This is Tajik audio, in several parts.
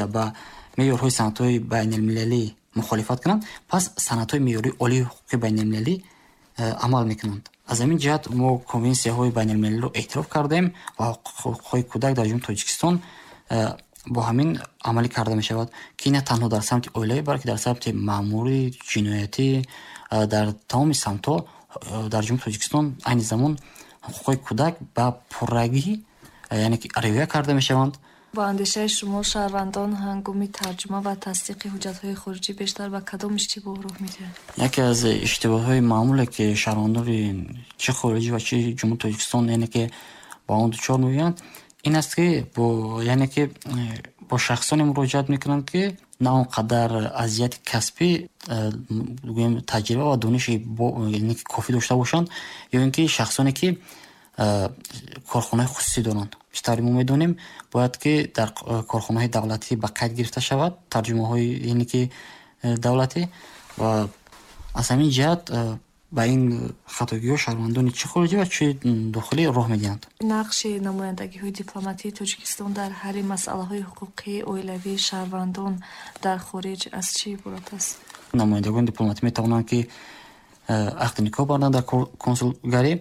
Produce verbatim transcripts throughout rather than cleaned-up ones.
оила ба меъёрҳои санадҳои байналмилалӣ мухолифат кунанд, пас санадҳои меъёрии олии ҳуқуқи байналмилалӣ амал мекунанд. Аз ҳамин ҷиҳат мо конвенсияҳои байналмилалиро эътироф кардем ва ҳуқуқҳои кӯдак дар Ҷумҳурии Тоҷикистон бо ҳамин амалӣ карда мешавад, ки на танҳо дар самти оилавӣ, балки дар самти маъмурӣ, ҷиноятӣ, дар тамоми самтҳо дар Ҷумҳурии Тоҷикистон айни замон ҳуқуқҳои кӯдак ба пуррагӣ, яъне ки риоя карда мешаванд. Ба андешаи шумо, шаҳрвандон ҳангоми тарҷума ва тасдиқи ҳуҷҷатҳои хориҷӣ бештар ба кадом иштибоҳ роҳ медиҳанд? Яке аз иштибоҳҳои маъмуле, ки шаҳрвандони чӣ хориҷӣ ва чӣ Ҷумҳурии Тоҷикистон, яъне ки ба он дучор меоянд, ин аст, ки бо, яъне ки бо шахсоне муроҷиат мекунанд, ки на он қадар аз ҷиҳати касбӣ, гӯем, таҷриба ва дониши яъне ки кофӣ дошта бошанд, ё ин ки шахсоне, ки корхонаҳои хусусӣ доранд. Чӣ тавре мо медонем, бояд ки дар корхонаҳои давлатӣ ба қайд гирифта шавад тарҷумаҳои, яъне ки давлатӣ, ва аз ҳамин ҷиҳат ба ин хатогиҳо шаҳрвандони чӣ хориҷӣ ва чӣ дохилӣ роҳ медиҳанд. Нақши намояндагиҳои дипломатии Тоҷикистон дар ҳалли масъалаҳои ҳуқуқии оилавии шаҳрвандон дар хориҷ аз чӣ иборат аст? Намояндагони дипломатӣ метавонанд, ки ақди никоҳ барданд дар консулгарӣ,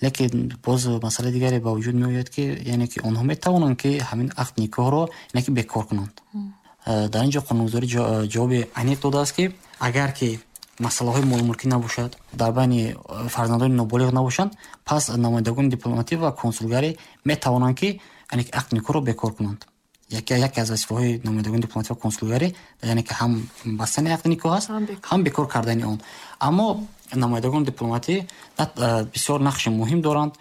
лекин боз масъалаи дигаре ба вуҷуд меояд, ки яъне ки онҳо метавонанд, ки ҳамин ақди никоҳро, яъне ки бекор кунанд. Дар ин ҷо қонунгузорӣ ҷавоби аниқ додааст, ки агар ки масъалаҳои молмулкӣ набошад, дар байни фарзандони ноболиғ набошанд, пас намояндагони дипломатӣ ва консулгарӣ метавонанд, ки яъне ки ақди никоҳро бекор кунанд. Яке яке аз вазифаҳои намояндагони дипломатӣ ва консулгарӣ, яъне ки ҳам бастани ақди никоҳ аст, ҳам бекор кардани он. Аммо намояндагони дипломатӣ бисёр нақши муҳим доранд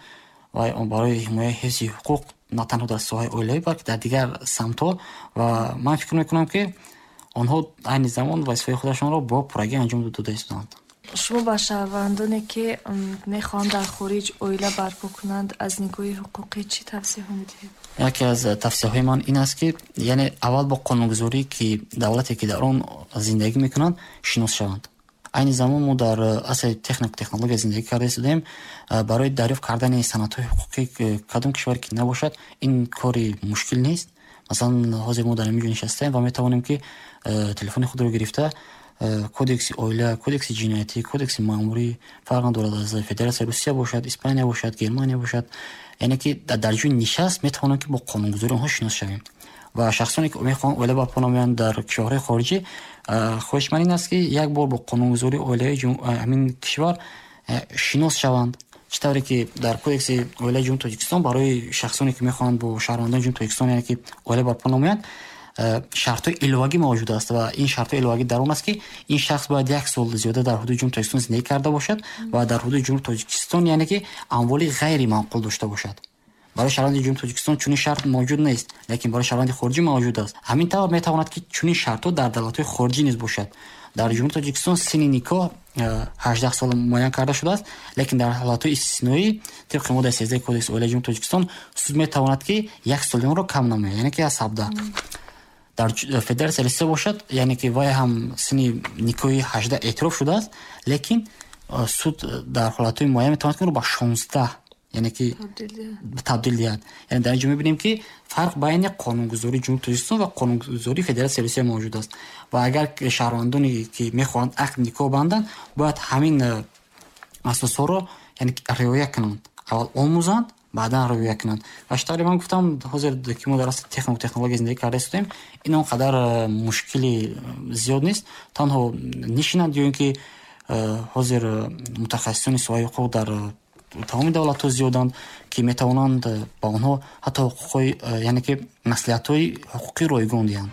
ва барои ҳимояи ҳифзи ҳуқуқ на танҳо дар соҳаи оилавӣ, балки дар дигар самтҳо, ва ман фикр мекунам, ки онҳо айни замон вазифаи худашонро бо пуррагӣ анҷом дода истодаанд. Шумо ба шаҳрвандоне, ки мехоҳанд дар хориҷ оила барпо кунанд, аз нигоҳи ҳуқуқӣ чӣ тавсияҳо медиҳед? Яке аз тавсияҳои ман ин аст, ки яъне аввал бо қонунгузорӣ, ки давлате, ки дар он зиндагӣ мекунанд, шинос шаванд. Айни замон мо дар асри техник технология зиндагӣ карда истодаем. Барои дарёфт кардани санадҳои ҳуқуқӣ кадом кишваре ки набошад, ин кори мушкил нест. Масалан, ҳозир мо дар ҳамин ҷо нишастаем ва метавонем, ки телефони худро гирифта кодекси оила, кодекси ҷиноятӣ, кодекси маъмурӣ, фарқ надорад, аз Федератсияи Русия бошад, Испания бошад, Германия бошад, яъне ки дар ҷои нишаст метавонем, ки бо қонунгузории онҳо шинос шавем. Ва шахсоне, ки мехоҳанд оила барпо намоянд дар кишварҳои хориҷӣ, хоҳиши ман ин аст, ки як бор бо қонунгузории оилаи ҳамин кишвар шинос шаванд. Чӣ тавре ки дар кодекси оилаи Ҷумҳурии Тоҷикистон барои шахсоне, ки мехоҳанд бо шаҳрвандони Ҷумҳурии Тоҷикистон, яъне ки оила барпо намоянд, шартҳои иловагӣ мавҷуд аст, ва ин шартҳои иловагӣ дар он аст, ки ин шахс бояд як сол зиёда дар ҳудуди Ҷумҳурии Тоҷикистон зиндагӣ карда бошад ва дар ҳудуди Ҷумҳурии Тоҷикистон, яъне ки амволи ғайриманқул дошта бошад. Барои шаҳрванди Ҷумҳурии Тоҷикистон чунин шарт мавҷуд нест, лекин барои шаҳрванди хориҷӣ мавҷуд аст. Ҳамин тавр метавонад, ки чунин шартҳо дар давлатҳои хориҷӣ низ бошад. Дар Ҷумҳурии Тоҷикистон синни никоҳ ҳаждаҳ сол муайян карда шудааст, лекин дар ҳолатҳои истисноӣ тибқи моддаи сездаҳи кодекси оилаи Ҷумҳурии Тоҷикистон суд метавонад, ки як соли онро кам намояд, яъне ки аз ҳабдаҳ. Дар Федератсияи Русия бошад, яъне ки вай ҳам синни никоҳи ҳаждаҳ эътироф шудааст, лекин суд дар ҳолатҳои муайян метавонад, ки онро ба шонздаҳ, яъне ки табдил диҳад. Яъне дар ин ҷо мебинем, ки фарқ байни қонунгузории Ҷумҳурии Тоҷикистон ва қонунгузории Федератсияи Русия мавҷуд аст. Ва агар шаҳрвандоне, ки мехоҳанд ақди никоҳ банданд, бояд ҳамин асосҳоро, яъне риоя кунанд. Аввал омӯзанд, баъдан риоя кунанд. Ва чӣ тавре ман гуфтам, ҳозир ки мо дар асри техник технология зиндагӣ карда истодаем, ин он қадар мушкили зиёд нест. Танҳо нишинанд, ё ин ки ҳозир мутахассисони соҳаи ҳуқуқ дар тамоми давлатҳо зиёданд, ки метавонанд ба онҳо ҳатто ҳуқуқҳои, яъне ки маслиҳатҳои ҳуқуқӣ ройгон диҳанд.